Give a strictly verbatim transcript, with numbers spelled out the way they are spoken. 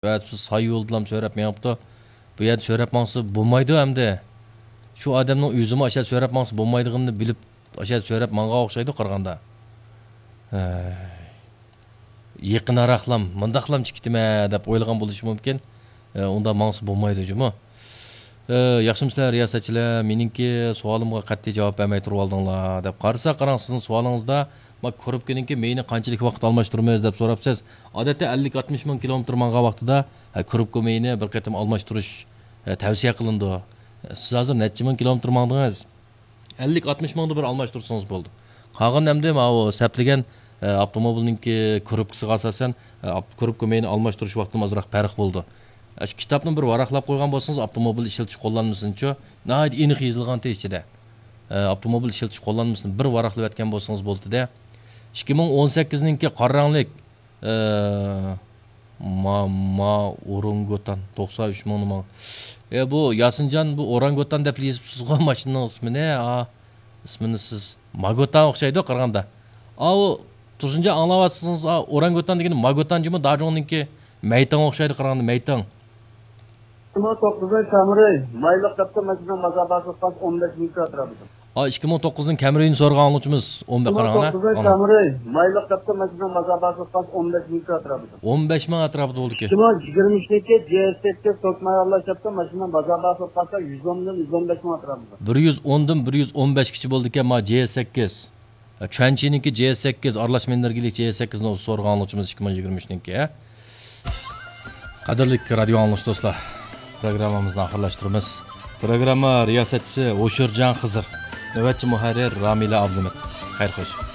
ۋە ساي يولدىلام سۆرەپ مېڭىپتۇ. بۇ يەردە سۆرەپ ماڭسا بولمايدۇ ئەمدى. شۇ ئادەمنىڭ ئۆزىمۇ ئاشۇ يەردە سۆرەپ ماڭسا بولمايدىغىنىنى بىلىپ، ئاشۇ يەردە سۆرەپ ماڭغان ئوخشايدۇ قارىغاندا. ھەي. يېقىنراقلام، مۇنداقلام چىقىتىمە دەپ ئويلىغان بولۇشى مۇمكىن. ئە، ئۇنداق ماڭسا بولمايدۇ جۇمۇ. ئە، ياخشىمۇسىلەر رىياسەتچىلەر؟ مېنىڭكى سوئالىمغا قەتئىي جاۋاب بەرمەي تۇرۇۋالدىڭلار دەپ قارىسا، قاراڭ، سىزنىڭ سوئالىڭىزدا، ما، كۇرۇپكىنىڭكى مېيىنى قانچىلىك ۋاقىت ئالماشتۇرىمىز دەپ سوراپسىز. ئادەتتە ئەللىك ئاتمىش مىڭ كىلومېتىر ماڭغان ۋاقتىدا، ھە، كۇرۇپكا مېيىنى بىر قېتىم ئالماشتۇرۇش، ھە، تەۋسىيە قىلىنىدۇ. سىز ھازىر نەچچە مىڭ كىلومېتىر ماڭدىڭىز؟ ئەللىك ئاتمىش مىڭدا بىر ئالماشتۇرسىڭىز بولدى. قالغان ئەمدى ماۋۇ سەپلىگەن، ئە، ئاپتوموبىلنىڭكى كۇرۇپكىسىغا ئاساسەن، ئە، ئاپ-، كۇرۇپكا مېيىنى ئالماشتۇرۇش ۋاقتىمۇ ئازراق پەرق بولىدۇ. ئە، شۇ كىتابنى بىر ۋاراقلاپ قويغان بولسىڭىز، ئاپتوموبىل ئىشلىتىش قوللانمىسىنىچۇ، ناھايىتى ئېنىق يېزىلغانتى ئىچىدە. ئە، ئاپتوموبىل ئىشلىتىش قوللانمىسىنى بىر ۋاراقلىۋەتكەن بولسىڭىز بولدى-دە. ئىككى مىڭ ئون سەككىزنىڭكى قارا رەڭلىك، ئە، ما، ما ئورانگوتان، توقسان ئۈچ مىڭنى ما. ئە، بۇ ياسىنجان، بۇ ئورانگوتان دەپ يېزىپسىزغۇ ماشىنىنىڭ ئىسمىنى، ئا، ئىسمىنى سىز. ماگوتان ئوخشايدۇ قارىغاندا. ئاۋۇ، تۇرسۇنجان ئاڭلاۋاتسىڭىز، ئا، ئورانگوتان دېگىنى ماگوتان جۇمۇ، داجۇڭنىڭكى مەيتىڭ ئوخشايدۇ قارىغاندا، مەيتىڭ. ئىككى مىڭ توققۇزىنچى سامۇراي، مايلىق قاپتۇ ماشىنىنىڭ بازار باھاسى قاز ئون بەش مىڭ ئەتراپىدا. ئا، ئىككى مىڭ توققۇزنىڭ كەمرىيىنى سورىغان ئاڭلىغۇچىمىز ئون بەش، ئىككى مىڭ قاراڭ، ئانا، توققۇزىنچى ئانا. سامۇراي، مايلىق قاپتۇ ماشىنىنىڭ بازار باھاسى قاز ئون بەش مىڭ ئەتراپىدا. ئون بەش مىڭ ئەتراپىدا بولدىكى. ئىككى مىڭ يىگىرمە ئۈچنىڭكى جي ئېس سەككىز توك ماياللاش قاپتۇ ماشىنىنىڭ بازار باھاسى قاز يۈز ئوندىن يۈز ئون بەش مىڭ ئەتراپىدا. بىر يۈز ئون دىن بىر يۈز ئون بەشكىچە بولدىكەن، ما، جي ئېس سەككىز. چۈەنچىنىڭكى جي ئېس سەككىز، ئارىلاشما ئېنېرگىيىلىك جي ئېس سەككىزنى سورىغان ئاڭلىغۇچىمىز ئىككى مىڭ يىگىرمە ئۈچنىڭكى. قەدىرلىك رادىيو ئاڭلىغۇچى دوستلار، پروگراممىمىزنى ئاخىرلاشتۇرىمىز. پروگرامما رىياسەتچىسى ھوشۇرجان خىزىر، نۆۋەتچى مۇھەررىر رامىلە ئابلىمىت. خەير خوش.